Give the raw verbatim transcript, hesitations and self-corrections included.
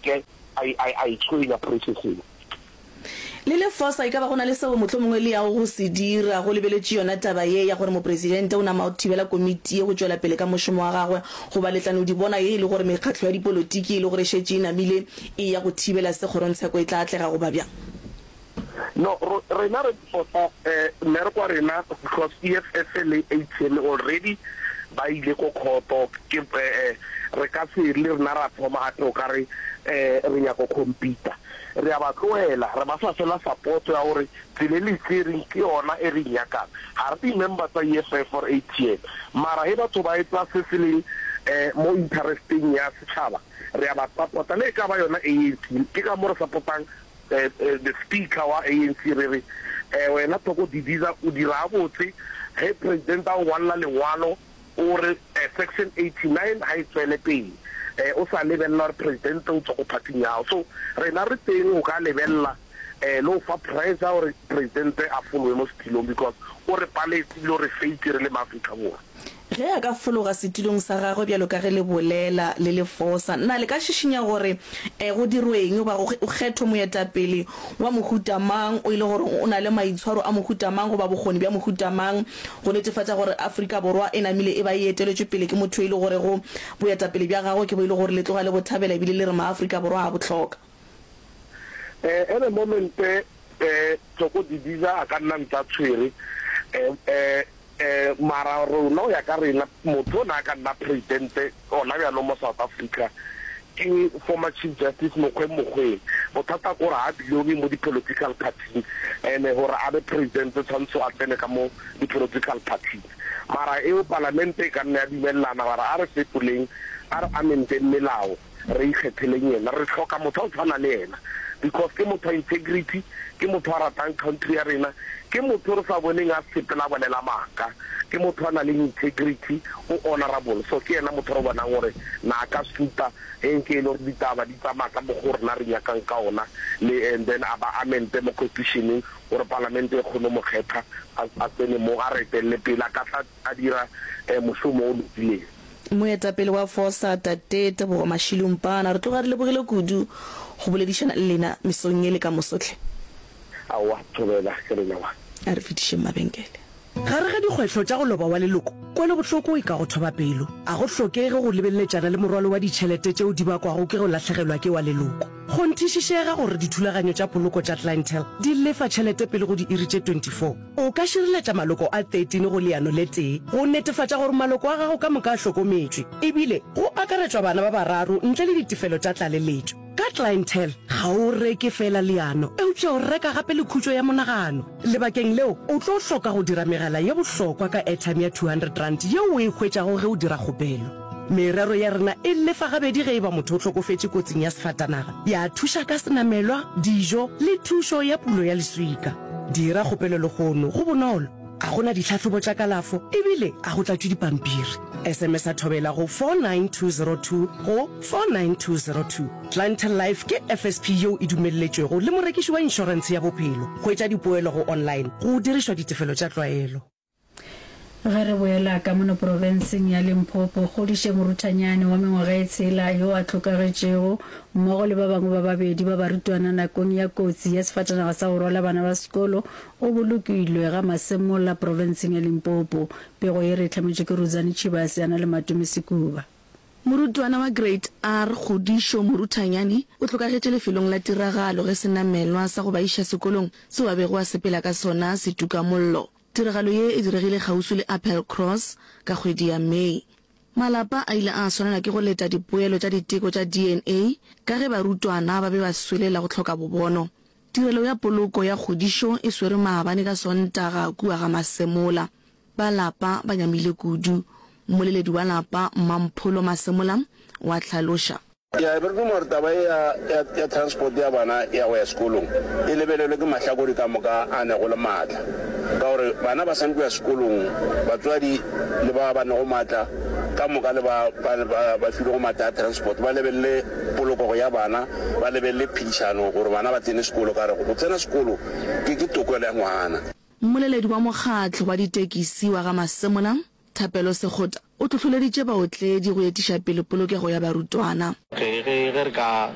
seke a a a itshwenya processing. Le le fosa, e ka ba go na le seo mohlomongwe le yago go se dira go lebeletše yona taba ye ya gore Mopresidente o nama o thibela komiti ye go tšwela pele ka mošomo wa gagwe, goba le tla no di bona ye e le gore mekgatlo ya dipolotiki e le gore e šetše e namile e ya go thibela se kgorongtsheko e tla atlega goba bjang? No, rena re fosa mmereko wa rena because E F F le A T M already ba ile ko khoto. Ke re ka se le rena ra thoma gape o ka re re nyako compete. Re a ba tlohela, re ba fa fela support ya gore tsela e le tsereng ke yona e re nyakang. Ga re di-member tsa E F F or A T M, mara he batho ba etsa se se leng um mo interesteng ya setšhaba, re a ba support-a, le e ka ba yona A N C. Ke ka mo re support-ang the speaker wa A N C. Re re um wena Thoko Didiza, o dira botse ge president a o ngwalela lengwalo o re section eighty-nine ga e tswele pele, um o sa lebelela gore president o tswa ko party-ing ya gago. So rena re teng o ka lebelela um le go fa pressure gore president a folowe mo setilong, because o re paletse ebile o re faitse re le maAfrika Borwa. Ge a ka fologa setulong sa gagwe bjalo ka ge le bolela le le fosa, na le ka šišinya gore um go dirweng goba go kgethwe moetapele wa mohuta mang o ile gore o na le maitshwaro a mohuta mang goba bokgoni bja mohuta mang go netefatša gore Afrika Borwa e namile e ba e eteletšwe pele ke motho e le gore go boetapele bja gagwe ke bo e le gore le tloga le bothabela ebile le re maAfrika Borwa a bohloka? um at the moment, um Thoko Didiza a ka nna ntse a tshwere, um um mara rona o ya ka rena, motho o ne a ka nna presidente gona bjalo mo South Africa ke former Chief Justice Mogoeng Mogoeng. Bothata ke gore ga belonge mo di-political party, and gore a be president tshwanetse a tsene ka mo di-political parties. Mara eo palamente e ka nna ya dumelelana gore a re fetoleng, a re amendeng melao, re ikgetheleng yena. Re hloka motho a o tshwana le yena because ke motho wa integrity, ke motho a ratang country ya rena, ke motho re sa boneng a sepela bolela maaka, ke motho a na le integrity, o honorable. So ke yena motho re bonang gore na ka suta ge nke e le gore ditaba di tsamaya ka mokgwa rena re nyakang ka ona le, and then a ba amende mo constitutioneng gore palamente e kgone mo kgetha, a tsene mo, a re etelele pele, a ka tla a dira um mošomo o lokileng. Moetapele wa fosa, tate Tebogo Mashilumpana, re tloga re lebogile kudu go boledišana le lena mesong ye le ka mosotlhe. Aowa, thobela, ke rena wa. A re fetišeng mabenkele. Gare ga dikgwetlho tša go loba wa leloko, kwelobohloko e ka go thoba pelo. A go hlokege go lebeleletšana le morwalo wa ditšhelete tšeo di bakwago ke go lahlegelwa ke wa leloko. Kgonthišišega gore dithulaganyo tša poloko tša Clientele di lefa tšhelete pele go diiri tše twenty-four. O ka šireletša maloko a thirteen go leano le tee go netefatša gore maloko a gago ka moka a hlokometšwe, ebile go akaretšwa bana ba bararo ntle le ditefelo tša tlaleletšo. Ka Clientele ga o reke fela leano, eupša o reka gape le khutšo ya monagano. Lebakeng leo o tlo hloka go dira megala ye bohlokwa ka airtime ya two hundred rand yeo o e hwetšago ge o dira kgopelo. Merero ya rena e lefa gabedi ge e ba motho o hlokofetše kotsing ya sefatanaga, ya thuša ka senamelwa, dijo le thušo ya pulo ya leswika. Dira kgopelo lehono, go bonolo, a gona ditlhahlobo tša kalafo ebile a go tlatšwe dipampiri. S M S a thobela go four nine two zero two go four nine two zero two. Clientele Life ke F S P yeo e dumelletšwego le morekiši wa inšorentshe ya bophelo. Hwetša dipoelo go online go dirišwa ditefelo tša tlwaelo. Ge re boela ka mono profenseng ya Limpopo, Kgodiše Moruthanyane wa mengwaga e tshela yo a hlokagetšego mmogo le ba bangwe ba babedi ba barutwana nakong ya kotsi ya sefatanaga sa go rwala bana ba sekolo o bolokilwe ga Masemola profenseng ya Limpopo. Pego ye re e hlametšwe ke Rudzani Tshivhase a na le Matome Sekuba. Morutwana wa Grade R Kgodišo Moruthanyane o hlokagetše lefelong la tiragalo ge senamelwa sa go ba iša sekolong seo a bego a sepela ka sona se tuka mollo. Tiragalo ye e diregile kgauswi le Appelcross ka kgwedi ya Mei. Malapa a ile a swanela ke go leta dipoelo tša diteko tša D N A ka ge barutwana ba be ba swelela go hloka bobono. Tirelo ya poloko ya Kgodišo e swere maabane ka Sontaga kua ga Masemola. Ba lapa ba nyamile kudu. Mmoleledi wa lapa, Mampholo Masemola, wa hlaloša. Ya be re duma gore taba e ya, ya, ya transport ya bana ya go ya sekolong e lebelelwe ke mahlakore ka moka a nego le maatla, ka gore bana ba swanetše go ya sekolong. Batswadi le ba ba nego maatla ka moka le ba ba, ba, ba filego maatla a transport ba lebelele polokego ya bana, ba lebelele phedišano gore bana ba tsene sekolo, ka gore go tsena sekolo ke, ke tokelo ya ngwana. Mmoleledi wa mokgatlo wa ditekisi wa ga Masemola, Thapelo Sekgota, o hlohloleditše baotledi go etiša pele polokego ya barutwana. Ge, ge, ge re ka